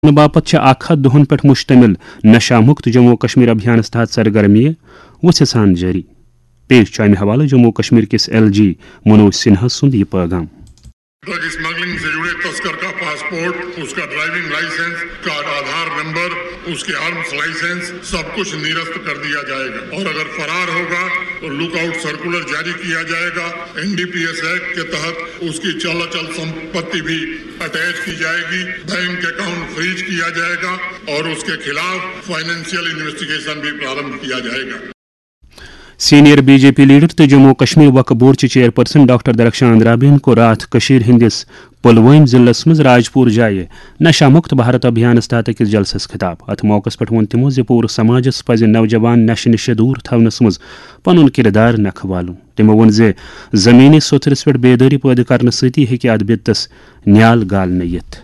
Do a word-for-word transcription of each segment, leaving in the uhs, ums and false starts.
کرنہٕ باپتھ چھِ اکھ ہتھ دۄہَن پٮ۪ٹھ مشتمل نشہ مکت جموں و کشمیر ابھیانَس تحت سرگرمیہِ وُژھِ سان جٲری۔ پیش چھُ اَمہِ حوالہٕ جموں و کشمیر کِس ایل جی منوج سنہا سُنٛد یہِ پٲغام۔ ڈرگ اسمگلنگ سے جڑے تسکر کا پاسپورٹ، اس کا ڈرائیونگ لائسنس، اس کا آدھار نمبر، اس کے آرمز لائسنس، سب کچھ نرست کر دیا جائے گا اور اگر فرار ہوگا تو لک آؤٹ سرکولر جاری کیا جائے گا۔ N D P S act کے تحت اس کی چل اچل سمپتی بھی اٹیچ کی جائے گی، بینک اکاؤنٹ فریز کیا جائے گا اور اس کے خلاف فائنینشیل انویسٹیگیشن بھی پرارمبھ کیا جائے گا۔ Senior B J P leader تہٕ جموں و کشمیر وقف بورڈ چہِ چیئرپرسن ڈاکٹر درخشان رابین کوٚر راتھ کٔشیٖر ہٕنٛدِس پُلوٲمۍ ضلعس منٛز راجپوٗر جایہِ نشہ مکت بھارت ابھیانس تحت أکِس جلسس خطاب۔ اتھ موقعس پٮ۪ٹھ ووٚن تِمو زِ پوٗرٕ سماجس پزِ نوجوان نشہٕ نِشہِ دوٗر تھاونس منٛز پنُن کردار نکھٕ والُن۔ تِمو ووٚن زِ زمینی سوٚتھرِس پٮ۪ٹھ بیدٲری پٲدٕ کرنہٕ سۭتی ہیٚکہِ اتھ بِدتس نیال گالنہٕ یِتھ۔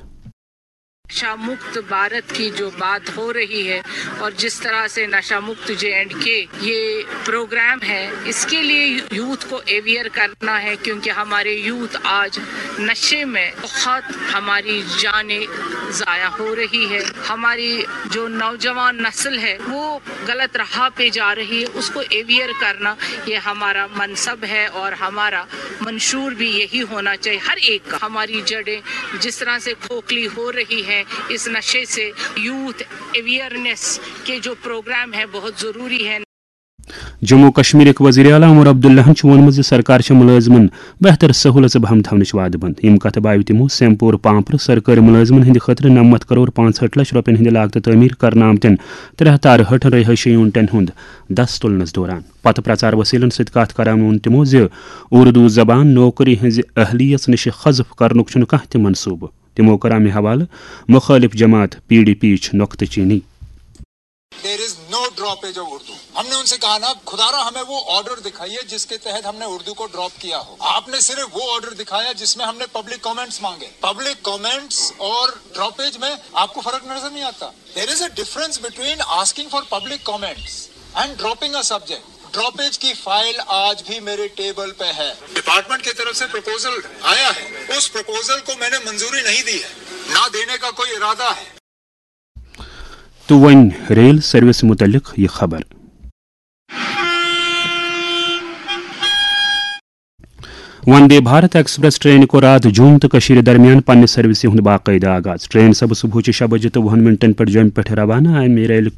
نشہ مکت بھارت کی جو بات ہو رہی ہے اور جس طرح سے نشہ مکت جے اینڈ کے یہ پروگرام ہے، اس کے لیے یوتھ کو اویئر کرنا ہے، کیونکہ ہمارے یوتھ آج نشے میں بہت، ہماری جانیں ضائع ہو رہی ہے۔ ہماری جو نوجوان نسل ہے وہ غلط راہ پہ جا رہی ہے، اس کو اویئر کرنا یہ ہمارا منصب ہے اور ہمارا منشور بھی یہی ہونا چاہیے ہر ایک کا۔ ہماری جڑیں جس طرح سے کھوکھلی ہو رہی ہیں اس نشے سے، یوتھ اویئرنیس کے جو پروگرام ہیں بہت ضروری ہیں۔ جموں و کشمیرٕکۍ وزیر اعلیٰ عمر عبداللہن چھُ ووٚنمُت زِ سرکار چھےٚ مُلٲزمن بہتر سہوٗلژٕ بہم تھاونٕچ وعدٕ بنٛد۔ یِم کتھٕ بایو تِمو سیمپور پامپرٕ سرکٲرۍ مُلٲزمن ہٕنٛدِ خٲطرٕ نَمَتھ کرور پانٛژھ ہٲٹھ لچھ رۄپین ہٕنٛدِ لاگتہٕ تعمیٖر کرنہٕ آمتٮ۪ن ترٛےٚ ہتھ تہٕ ارہٲٹھن رہٲیشی یونٹن ہُنٛد دس تُلنس دوران۔ پتہٕ پرچار وسیلن سۭتۍ کتھ کران ووٚن تِمو زِ اردو زبان نوکری ہٕنٛزِ اہلیت نِش حذف کرنُک چھُنہٕ کانٛہہ تہِ منصوبہٕ۔ تِمو کٔر امہِ حوالہٕ مُخٲلِف جماعت پی ڈی پی یِچ نۄقطہٕ چینی۔ There is no droppage of Urdu. हमने उनसे कहा ना, खुदारा हमें वो ऑर्डर दिखाइए जिसके तहत हमने उर्दू को ड्रॉप किया हो। आपने सिर्फ वो ऑर्डर दिखाया जिसमें हमने पब्लिक कमेंट्स मांगे। पब्लिक कमेंट्स और ड्रॉपेज में आपको फर्क नजर नहीं आता? There is a difference between asking for public comments and dropping a subject. Droppage की फाइल आज भी मेरे टेबल पे है। डिपार्टमेंट की तरफ से प्रपोजल आया है, उस प्रपोजल को मैंने मंजूरी नहीं दी है, ना देने का कोई इरादा है। تہٕ وۄنۍ ریل سروس متعلق یہِ خبر۔ وندے بھارت ایکسپریس ٹرینہِ کوٚر راتھ جوٚم تہٕ کٔشیٖرِ درمیان پننہِ سروسہِ ہُنٛد باقٲعدٕ آغاز۔ ٹرین سپٕز صبحٲچہِ شےٚ بجہِ تہٕ وُہن منٹن پٮ۪ٹھ جوٚمہِ پٮ۪ٹھ روانہٕ۔ امہِ ریلہِ،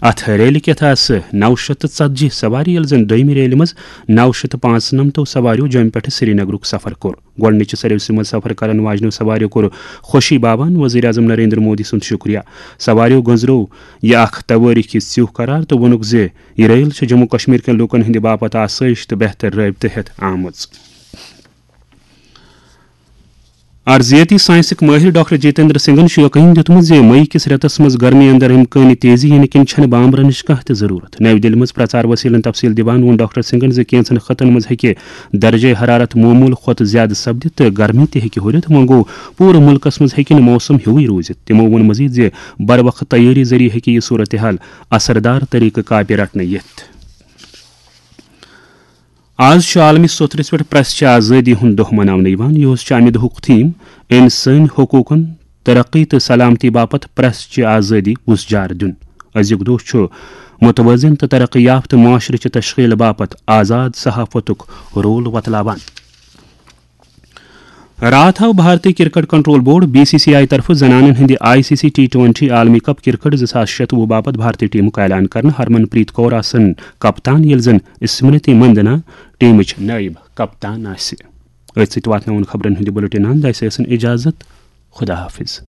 اتھ ریلہِ کٮ۪تھ آسہٕ نو شیٚتھ تہٕ ژتجی سوارِ، ییٚلہِ زن دوٚیمہِ ریلہِ منٛز نو شیٚتھ تہٕ پانٛژنمتو سوارِیو جوٚمہِ پٮ۪ٹھ سرینگرُک سفر کوٚر۔ گۄڈٕنِچہِ سروسہِ منٛز سفر کرن واجنیو سوارِیو کوٚر خوشی باوان وزیر اعظم نریندر مودی سُنٛد شُکریہ۔ سوارِیو گٔنٛزرٲو یہِ اکھ توٲریٖخی ژیوٚہ قرار تہٕ ووٚنُکھ زِ یہِ ریل چھےٚ جموں کشمیر کٮ۪ن لوٗکن ہٕنٛدِ باپتھ آسٲیِش تہٕ بہتر رٲبطہٕ ہٮ۪تھ آمٕژ۔ ارضیٲتی ساینسٕکۍ مٲہِر ڈاکٹر جتیندر سنگھن چھُ یقین دِیُتمُت زِ مئی کِس رٮ۪تس منٛز گرمی اندر امکٲنی تیزی یِنہٕ کِنۍ چھنہٕ بامبرنٕچ کانٛہہ تہِ ضروٗرت۔ نَوِ دِلہِ منٛز پرچار وسیلن تفصیل دِوان ووٚن ڈاکٹر سنگھن زِ کینٛژن خطن منٛز ہیٚکہِ درجہ حرارت معمول کھۄتہٕ زیادٕ سپدِتھ تہٕ گرمی تہِ ہیٚکہِ ہُرِتھ۔ وۄنۍ گوٚو، پوٗرٕ مُلکس منٛز ہیٚکہِ نہٕ موسم ہیُوٕے روٗزِتھ۔ تِمو ووٚن مزید زِ بروقت تیٲری ذٔریعہٕ ہیٚکہِ یہِ صورتحال اثردار طریقہٕ کاپہِ رٹنہٕ یِتھ۔ آز چھُ عالمی سوٚتھرِس پٮ۪ٹھ پریس چہِ آزٲدی ہُنٛد دۄہ مناونہٕ یِوان۔ یہِ اوس چھُ امہِ دۄہُک تھیم انسٲنی حقوٗقن، ترقی تہٕ سلامتی باپتھ پریس چہِ آزٲدی وُژھ جار دیُن۔ أزیُک دۄہ چھُ متوازن تہٕ ترقی یافتہٕ معاشرٕ چہِ تشکیل باپتھ آزاد صحافتُک رول وۄتلاوان۔ راتھ آو بھارتی cricket control board, B C C I, طرفہٕ زنانن ہٕنٛدِ I C C T twenty عالمی کپ کرکٹ زٕ ساس شتوُہ باپتھ بھارتی ٹیمُک اعلان کرنہٕ۔ ہرمن پریت کور آسن کپتان، ییٚلہِ زن اسمرتی مندنا ٹیمٕچ نٲیِب کپتان آسہِ۔ أتھۍ سۭتۍ واتناوُن خبرن ہُنٛد یہِ بُلٹن اند۔ اسہِ ٲسِن اجازت۔ خدا حافظ۔